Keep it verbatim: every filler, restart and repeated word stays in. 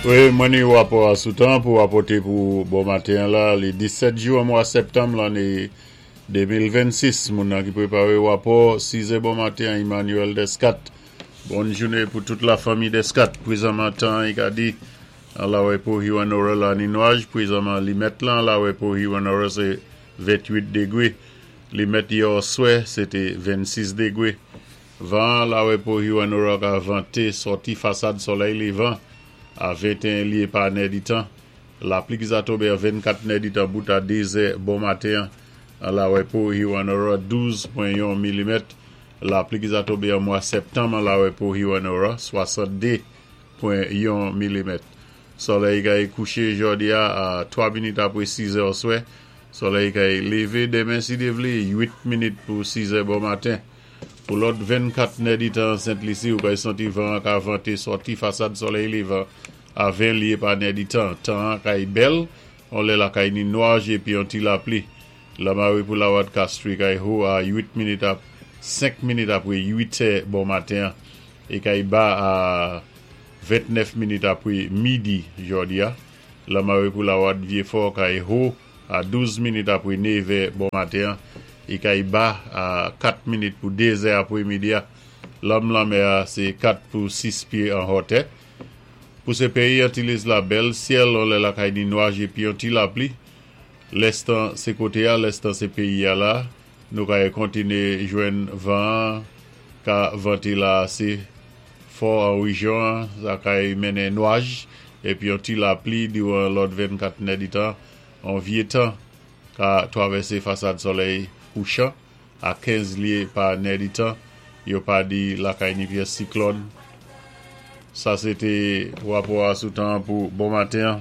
Wi, mwen ni wapò a sou tan pou wapòté pou bon maten la, li disèt jou an mwa septanm lanné de mil vennsis. Moun nan ki pwéparé wapò sizè bon maten, Emmanuel Descat. Bòn jouné pou tout la fanmi Descat. Pwézanman tan, i ka di, an Lawè pou Hewanorra la ni nwaj. Pwézanman limèt lan, Lawè pou Hewanorra sé venntwit dégwé. Limèt yè oswè, sé té vennsis dégwé. Van Lawè pou Hewanorra ka vanté sòti fasad solèy lévan a venteyen lyé pa nèditan. Lapli ki sa tonbé a vennkat nèditan bout a dé zè bon maten an Lawè pou Hewanorra, douz pwen yon milimèt. Lapli ki sa tonbé an mwa septanm an Lawè pou Hewanorra, swasannde pwen yon milimèt. Solèy kay kouché jòdi a a twa minit apwé sizè oswè. Solèy kay lévé denmen si Dye vlé wit minit pou sizè bon maten. Pou lòt vennkat nèditan Sent Lisi, ou kay santi van ka vanté sòti fasad solèy lévan a ven lyé pa nèditan. Tan kay bèl, on lè la kay ni nwaj épi yon ti lapli. Lamawé pou Lawad Castries kay ho a wit minit ap senk minit apwé wit è bon maten é kay ba a ventnèf minit apwé midi jòdi a. Lamawé pou Lawad Vyéfò kay ho a douz minit apwé nevè bon maten é kay ba a kat minit pou dé zè apwé midi a. Lanm lanmè a sé kat pou sis pyé an hotè. Pou sé péyi Antilles la, bèl syèl, on lè la kay ni nwaj épi yon ti lapli. Lèstan sé koté a, lèstan sé péyi a la, nou kay kontiné jwenn van ka vanté la asé fò an wéjyon, sa kay mennen nwaj épi yon ti lapli diwan lòt vennkat nèditan. An vyé tan ka twavèsé fasad solèy kouchan a kenz lyé pa nèditan. Yo pa di lakay ni pyès siklòn. Sa sé té wapò a sou tan pou bon maten.